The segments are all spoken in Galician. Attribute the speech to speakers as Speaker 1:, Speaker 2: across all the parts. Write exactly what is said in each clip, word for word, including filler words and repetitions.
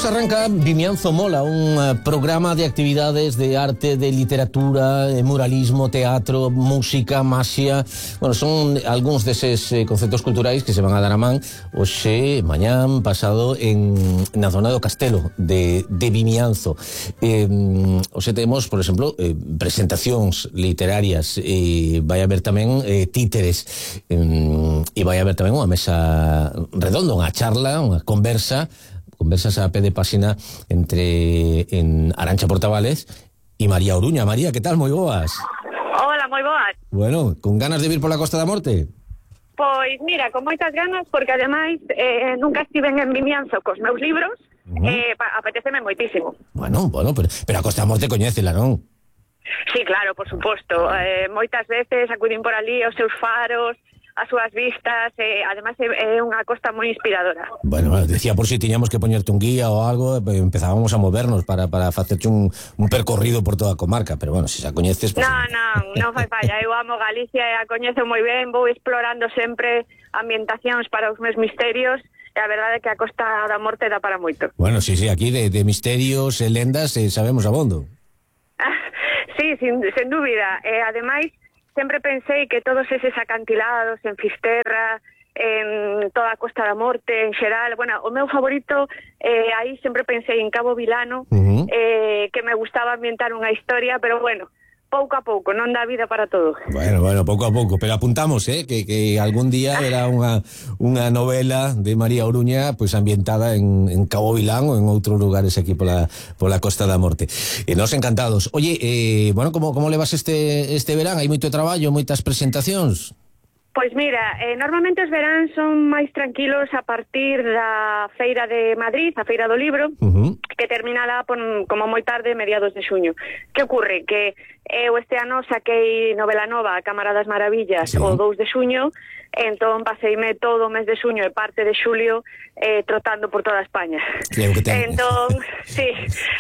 Speaker 1: Pues arranca Vimianzo Mola, un uh, programa de actividades de arte, de literatura, de muralismo, teatro, música, maxia. Bueno, son algúns deses eh, conceptos culturais que se van a dar a man hoxe, mañán, pasado en na zona do Castelo de, de Vimianzo. Eh, hoxe temos, por exemplo, eh, presentacións literarias, e vai haber tamén eh, títeres, eh, e vai haber tamén unha mesa redonda, unha charla, unha conversa conversas a pé de páxina entre en Arantxa Portavales e María Oruña. María, que tal? Moi boas.
Speaker 2: Hola, moi boas.
Speaker 1: Bueno, con ganas de vir pola Costa da Morte?
Speaker 2: Pois mira, con moitas ganas, porque ademais eh, nunca estiven en Vimianzo cos meus libros, uh-huh. eh, apeteceme moitísimo.
Speaker 1: Bueno, bueno, pero, pero a Costa da Morte coñécela, non?
Speaker 2: Sí, claro, por suposto. Eh, moitas veces acudín por ali os seus faros, as súas vistas, eh, además é, é unha costa moi inspiradora.
Speaker 1: Bueno, decía por si tiñamos que poñerte un guía ou algo, empezábamos a movernos para, para facerte un, un percorrido por toda a comarca, pero bueno, se xa coñeces... Pues...
Speaker 2: Non, non, non fai falla, eu amo Galicia e a coñezo moi ben, vou explorando sempre ambientacións para os meus misterios, e a verdade é que a Costa da Morte dá para moito.
Speaker 1: Bueno, sí, sí, aquí de, de misterios e lendas eh, sabemos abondo.
Speaker 2: Sí, sin, sin dúbida, e ademais sempre pensei que todos eses acantilados en Fisterra, en toda a Costa da Morte, en xeral, bueno, o meu favorito, eh, aí sempre pensei en Cabo Vilano, uh-huh. eh, que me gustaba ambientar unha historia, pero bueno, pouco a pouco, non dá vida para todo.
Speaker 1: Bueno, bueno, pouco a pouco, pero apuntamos, eh, que, que algún día era unha, unha novela de María Oruña, pues ambientada en, en Cabo Vilán ou en outros lugares aquí pola, pola Costa da Morte. E nos encantados. Oye, eh, bueno, como, como levas este, este verán? Hai moito traballo, moitas presentacións?
Speaker 2: Pois mira, eh, normalmente os veráns son máis tranquilos a partir da Feira de Madrid, a Feira do Libro, uh-huh. que termina lá por, como moi tarde, mediados de xuño. Que ocurre? Que eu este ano saquei novela nova, A Cámara das Maravillas, sí. o dous de xuño, entón paseime todo o mes de xuño e parte de xulio eh, trotando por toda España.
Speaker 1: Creo que ten...
Speaker 2: Entón, sí,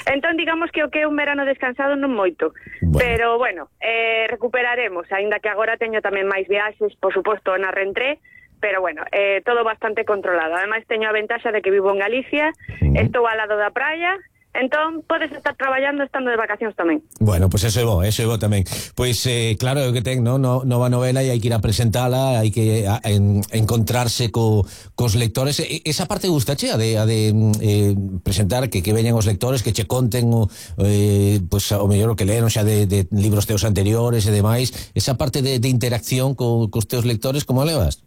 Speaker 2: entón digamos que o que é un verano descansado non moito, bueno. pero bueno, eh, recuperaremos, aínda que agora teño tamén máis viaxes, por suposto, na Rentré, pero bueno, eh, todo bastante controlado. Ademais teño a ventaxa de que vivo en Galicia, uh-huh. estou ao lado da praia, entón podes estar traballando estando de vacacións tamén.
Speaker 1: Bueno, pois pues eso é bo, eso é bo tamén. Pois pues, eh, claro, é o que ten, no, no, nova novela e hai que ir a presentala, hai que a, en, encontrarse co, cos lectores. E, esa parte gustache, a de, a de eh, presentar, que, que veñan os lectores, que che conten o, eh, pues, o mellor o que leron xa de, de libros teus anteriores e demais. Esa parte de, de interacción co, cos teus lectores, como a levas?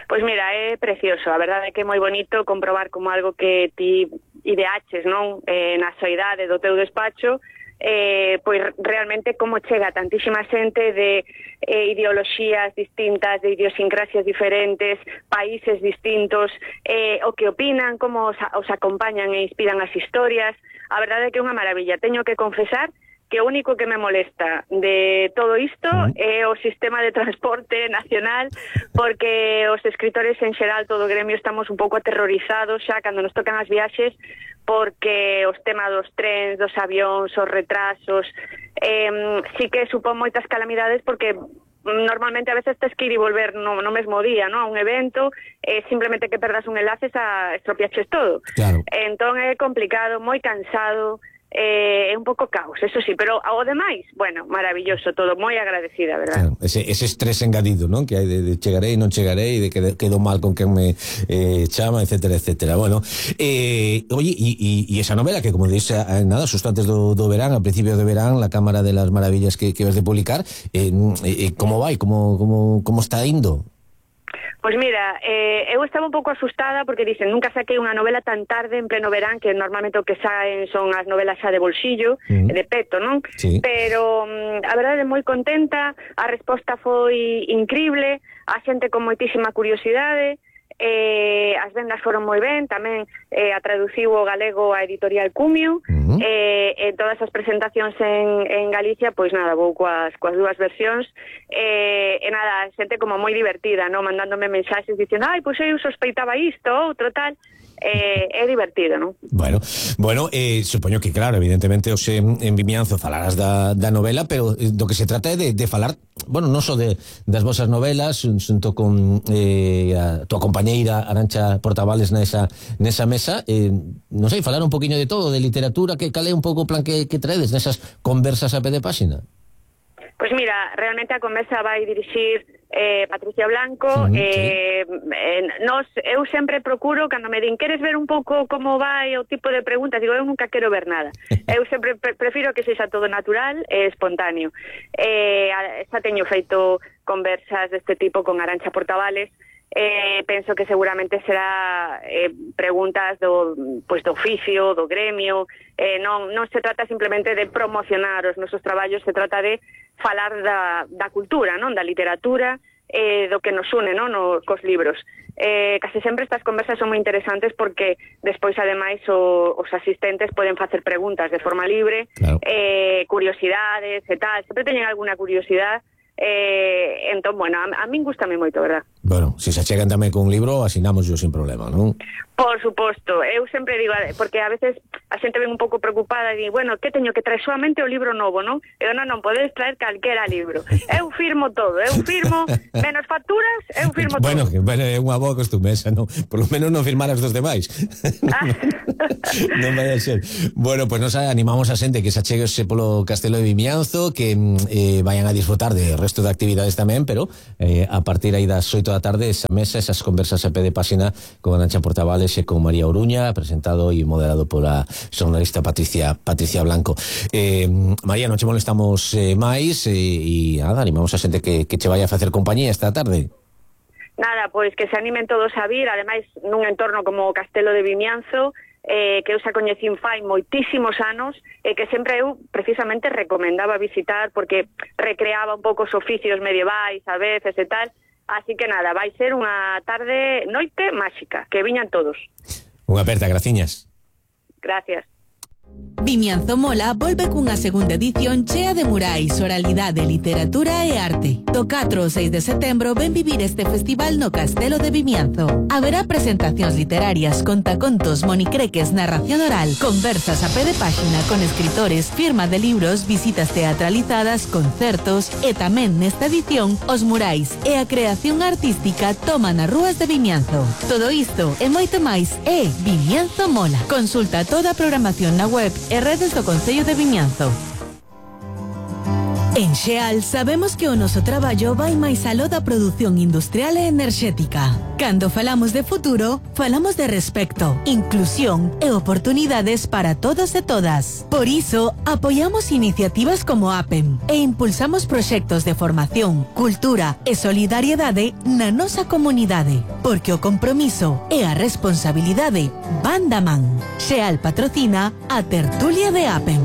Speaker 2: Pois mira, é precioso, a verdade é que é moi bonito comprobar como algo que ti ideaches, non, eh, na soidade do teu despacho, eh, pois realmente como chega tantísima xente de eh, ideoloxías distintas, de idiosincrasias diferentes, países distintos, eh, o que opinan, como os, os acompañan e inspiran as historias. A verdade é que é unha maravilla. Teño que confesar que o único que me molesta de todo isto é o sistema de transporte nacional, porque os escritores en xeral, todo o gremio, estamos un pouco aterrorizados xa cando nos tocan as viaxes, porque os temas dos trens, dos avións, os retrasos, eh, sí que supón moitas calamidades, porque normalmente a veces tes que ir e volver no, no mesmo día, ¿no? A un evento, eh, simplemente que perdas un enlace a estropiaches todo.
Speaker 1: Claro.
Speaker 2: Entón é complicado, moi cansado, é eh, un pouco caos, eso sí, pero ao demais, bueno, maravilloso todo, moi agradecida, verdad?
Speaker 1: Claro, ese, ese estrés engadido, non? Que hai de, de chegarei, non chegarei, de que quedo mal con quen me eh, chama, etcétera, etcétera. Bueno, eh, oye, e esa novela que, como dices, nada, xusto antes do, do verán, al principio de verán, La Cámara de las Maravillas que, que vas de publicar, eh, eh, como vai, como, como, como está indo?
Speaker 2: Pois mira, eh, eu estaba un pouco asustada porque dicen, nunca saquei unha novela tan tarde en pleno verán, que normalmente o que saen son as novelas xa de bolsillo, uh-huh. de peto, non?
Speaker 1: Sí.
Speaker 2: Pero um, a verdade é moi contenta, a resposta foi increíble, a xente con moitísima curiosidade, eh, as vendas foron moi ben, tamén eh, a traduciu o galego a editorial Cumio, uh-huh. eh, e todas as presentacións en, en Galicia, pois nada, vou coas, coas dúas versións, eh, e nada, xente como moi divertida, no, mandándome mensaxes dicendo, ai, pois eu sospeitaba isto, outro tal, é, é divertido, non?
Speaker 1: Bueno, bueno, eh, supoño que claro, evidentemente os en, en Vimianzo falarás da, da novela, pero do que se trata é de, de falar, bueno, non só de, das vosas novelas, xunto con eh, a tua compañeira Arantxa Portavales nesa, nesa mesa, eh, non sei, falar un poquinho de todo, de literatura, que cal é un pouco o plan que, que traedes nesas conversas a pé de páxina?
Speaker 2: Pois mira, realmente a conversa vai dirixir eh, Patricia Blanco.
Speaker 1: Sí,
Speaker 2: eh,
Speaker 1: sí.
Speaker 2: eh, nos, eu sempre procuro, cando me din, queres ver un pouco como vai o tipo de preguntas, digo, eu nunca quero ver nada. Eu sempre pre prefiro que sexa todo natural e espontáneo. Eh, xa teño feito conversas deste tipo con Arantxa Portavales. Eh, penso que seguramente será eh, preguntas do, pues, do oficio, do gremio. Eh, non, non se trata simplemente de promocionar os nosos traballos, se trata de falar da, da cultura, non, da literatura, eh, do que nos une, non, no, cos libros. Eh, case sempre estas conversas son moi interesantes porque despois, ademais, o, os asistentes poden facer preguntas de forma libre, claro. eh, curiosidades e tal, sempre teñen alguna curiosidade. Eh, entón, bueno, a, a min gustame moito, verdad?
Speaker 1: Bueno, se se achegan tamén con un libro, asinamos yo sin problema, non?
Speaker 2: Por suposto, eu sempre digo, porque a veces a xente ven un pouco preocupada e di, bueno, que teño que traer solamente o libro novo, non? Eu non, non podes traer calquera libro. Eu firmo todo, eu firmo, menos facturas, eu firmo
Speaker 1: bueno,
Speaker 2: todo.
Speaker 1: Bueno, é unha boa costumesa, non? Por lo menos non firmar as dos demais. Non vai a ser. Bueno, pois pues nos animamos a xente que se acheguese polo Castelo de Vimianzo, que eh, vayan a disfrutar de resto de actividades tamén, pero eh, a partir aí das oito da tarde, esa mesa, esas conversas a pé de páxina con Arantxa Portavales e con María Oruña, presentado e moderado pola xornalista Patricia Patricia Blanco. Eh, María, non che molestamos eh, máis, e eh, nada, animamos a xente que, que che vaya a facer compañía esta tarde.
Speaker 2: Nada, pois que se animen todos a vir, ademais nun entorno como o Castelo de Vimianzo, eh, que eu xa coñecín fai moitísimos anos, e que sempre eu precisamente recomendaba visitar porque recreaba un pouco os oficios medievais a veces e tal. Así que nada, vai ser unha tarde, noite máxica, que viñan todos.
Speaker 1: Unha aperta, graciñas.
Speaker 2: Gracias.
Speaker 3: Vimianzo Mola volve cunha segunda edición chea de murais, oralidade, literatura e arte. Do catro ao seis de setembro ven vivir este festival no Castelo de Vimianzo. Haberá presentacións literarias, contacontos, monicreques, narración oral, conversas a pé de páxina con escritores, firma de libros, visitas teatralizadas, concertos e tamén nesta edición os murais e a creación artística toman as rúas de Vimianzo. Todo isto e moito máis é Vimianzo Mola. Consulta toda a programación na web e redes do Concello de Vimianzo. En Xeal sabemos que o noso traballo vai máis aló da produción industrial e enerxética. Cando falamos de futuro, falamos de respecto, inclusión e oportunidades para todos e todas. Por iso, apoiamos iniciativas como APEM e impulsamos proxectos de formación, cultura e solidariedade na nosa comunidade, porque o compromiso e a responsabilidade van da man. Xeal patrocina a tertulia de APEM.